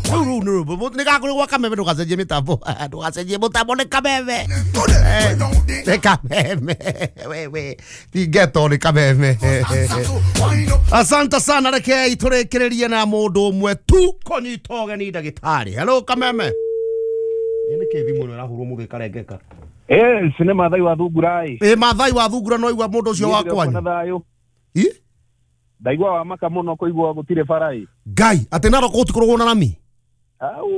Rĩu nĩ nĩ gakũrĩ gwa Kameme, ndũgacenjie mĩtambo, ndũgacenjie mũtambo, nĩ Kameme. Nĩ Kameme wewe, ti ghetto, nĩ Kameme. Asante sana, rekei tũrĩkĩrĩrie na mũndũ ũmwe tu kũnyita ũgeni ndagĩtarĩ. Hello Kameme, nĩ kĩ thimũ ĩno ĩrahũrwo mũthĩ ĩkarengeka? Eh, nĩ Mathai wa Thungura ĩ. Ĩ Mathai wa Thungura, no igua mũndũ ũcio wa kwanyu. Na thayũ. Ĩ? Ndaigua wa maka mũno kũigua gũtirĩ bara ĩ. Ngai, atĩ Narok gũtikoragwo na rami? Au,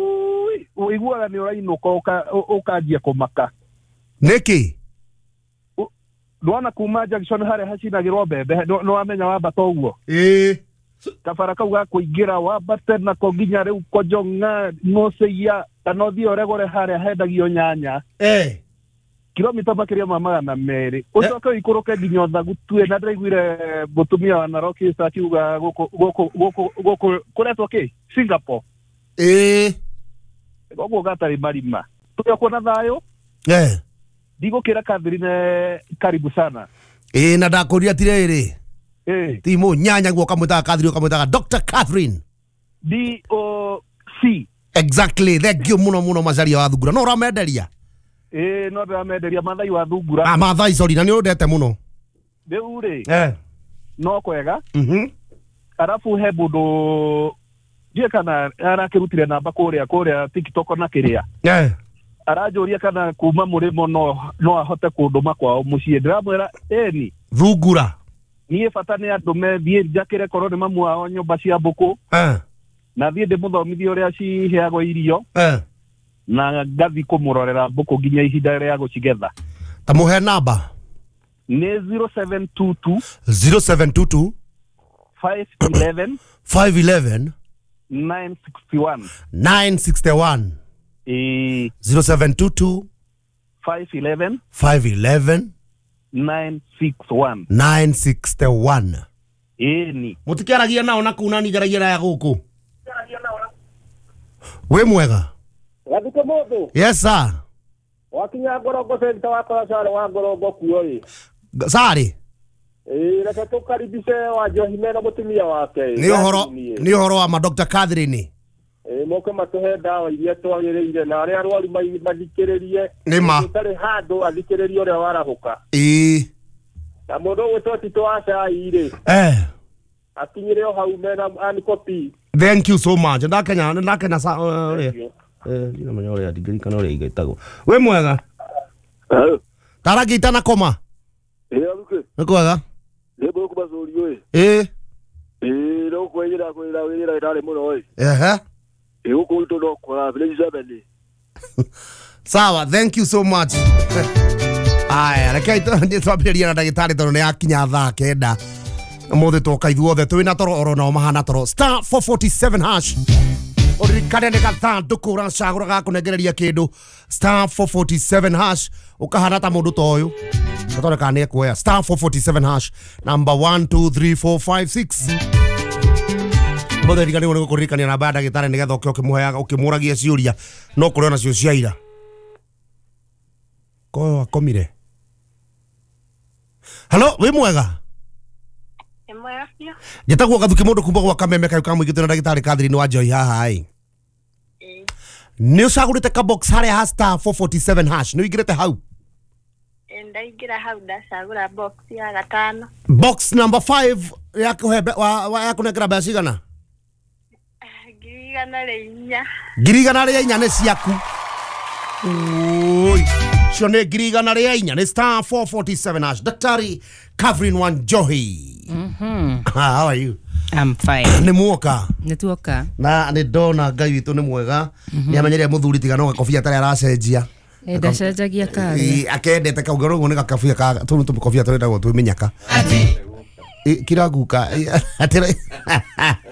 ũiguaga nĩ ũrainũka ũkanjia kũmaka. Nĩkĩ? Ndwona kuma junction harĩa hacinagĩrwo mbembe, nĩwamenya wambata ũguo. Ĩ. Kabara kau ga kũingĩra wambate nako nginya rĩu Kojong'a Ng'ũcĩia kana ũthiĩ ũregũre harĩa hendagio nyanya. Eh. Kilomita makĩria ma 200 ũcoke ũikũrũke nginya Ũthagutue, na ndĩraiguire mũtumia wa Narok East akiuga gũkũ gũkũ gũkũ gũkũ kũretwo kĩ Singapore. Ĩ. Koguo gatarĩ marima tũrĩ kuona thayũ. Eh. Ndigũkĩra Catherine, karibu sana. Ĩ, na ndakũria atirĩrĩ. Eh. Ti mũnyanya guo ũkamwĩtaga Catherine, ũkamwĩtaga Dr. Catherine. D O C. Exactly, thank you muno muno Macaria wa Thungura, no ũramenderia? Ĩ, no ndĩramenderia Mathai wa Thungura. Ah, Mathai, sorry, na nĩ ũndete mũno. Rĩu rĩ, Eh. no kwega. Arabu he mũndũ ndiũĩ kana arakĩrutire namba kũrĩa kũrĩa TikTok na kĩrĩa. Eh. Aranjũria kana kuma mũrĩmo no ahote kũndũma kwao mũciĩ, ndĩramwĩra ĩni. Thungura. Niĩ bata nĩ andũ methiĩ njakĩre korwo nĩ mamu wao nyũmba cia mbũkũ, Eh. na thiĩ ndĩmũthomithie ũrĩa ciheagwo irio, Eh. na ngathi kũmũrorera mbũkũ nginya ihinda rĩa gũcigetha. Ta mũhe namba. Nĩ 0722 0722 511 511 961. 961. Ĩĩ. 0722 511 511 961. 961. Ĩni. Mũtikĩaragia nao na kũu, nani njaragia na ya gũkũ. Wĩ mwega? Gathike mũndũ. Yes sir. Wakinya Ngorongo center, wakora carĩ wa Ngorongo kuo ĩ. Sarĩ. Ĩ, reke tũkaribice wa Njohi mena mũtumia wake ĩ. Nĩ ũhoro, nĩ ũhoro wa ma Dr. Catherine. Ĩ, moke matũhe ndawa iria twagĩrĩire na arĩa arwaru mathikĩrĩrie. Nĩ ma. Ũtarĩ handũ athikĩrĩrie ũrĩa warahũka. Ĩĩ. Na mũndũ ũgwĩtwo Tito wa cai rĩ, Eh. akinyĩre o hau mena anikopi. Thank you so much. Ndakenya, ndakenya sa ũrĩa. Eh, ndinamenya ũrĩa, ndingĩririkana ũrĩa igĩtagwo. Wĩ mwega? Tarangi itanakoma. Ĩ, Aruke. Nĩ kwega? Nĩ mbũkũ ĩ. Ĩĩ. Ĩ, no kwĩyĩra kwĩra wĩra ĩtarĩ mũno ĩ. Ehe. Ĩ, gũkũ gwitũ no kwara village seven. Sawa, thank you so much. Aya, reke twambĩrĩrie na ndagĩtarĩ tondũ nĩ yakinya thaa 9. Ũmũthĩ twoka ithuothe twĩna toro oro nao mahana toro. *447#, ũririkane nĩ gathandũkũ ũracagũra gakũnengereria kĩndũ. *447# ũkahana ta mũndũ ta ũyũ gatore kana nĩ ekuoya. *447# number 1 2 3 4 5 6. Mũthĩ riganĩrwo nĩ gũkũririkania namba ya ndagĩtarĩ nĩgetha ũke ũkĩmũheaga ũkĩmũragia ciũria no kũrĩ onacio cia ira koyo akomire. Halo, wĩ mwega? Nĩ mwega biũ. Njĩtagwo Gathuki mũndũ kuma gwa Kameme kayo ka mũingĩ, twĩna ndagĩtarĩ Catherine wa Joy haha ĩ. Ĩĩ. Nĩ ũcagũrĩte ka box harĩa ha *447# nĩ ũingĩrĩte hau? Ĩĩ, ndaingĩra hau ndacagũra box ya gatano. Box number 5 ya kũhe ya kũnengera mbeca cigana? 104,000. 104,000 nĩ ciaku. Oi, cio nĩ 104,000, nĩ *447#. Daktari Catherine Wanjohi. How are you? I'm fine. Nĩ muoka? Nĩ tuoka. Na nĩ ndona Ngai witũ nĩ mwega, nĩ amenyeria mũthuri tiga no gakobia tarĩa aracenjia. Ndacenjagia kari. Ĩ, akendete kau ũguo nĩ gakabia ka tũu tũmĩkobia tũrendagwo twĩ mĩnyaka. Ĩ, kira guka. Ĩ,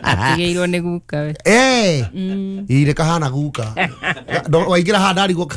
Atigĩirwo nĩ guka we. Eh, ĩ, nĩ kahana guka. Waingĩra haha ndarigwo.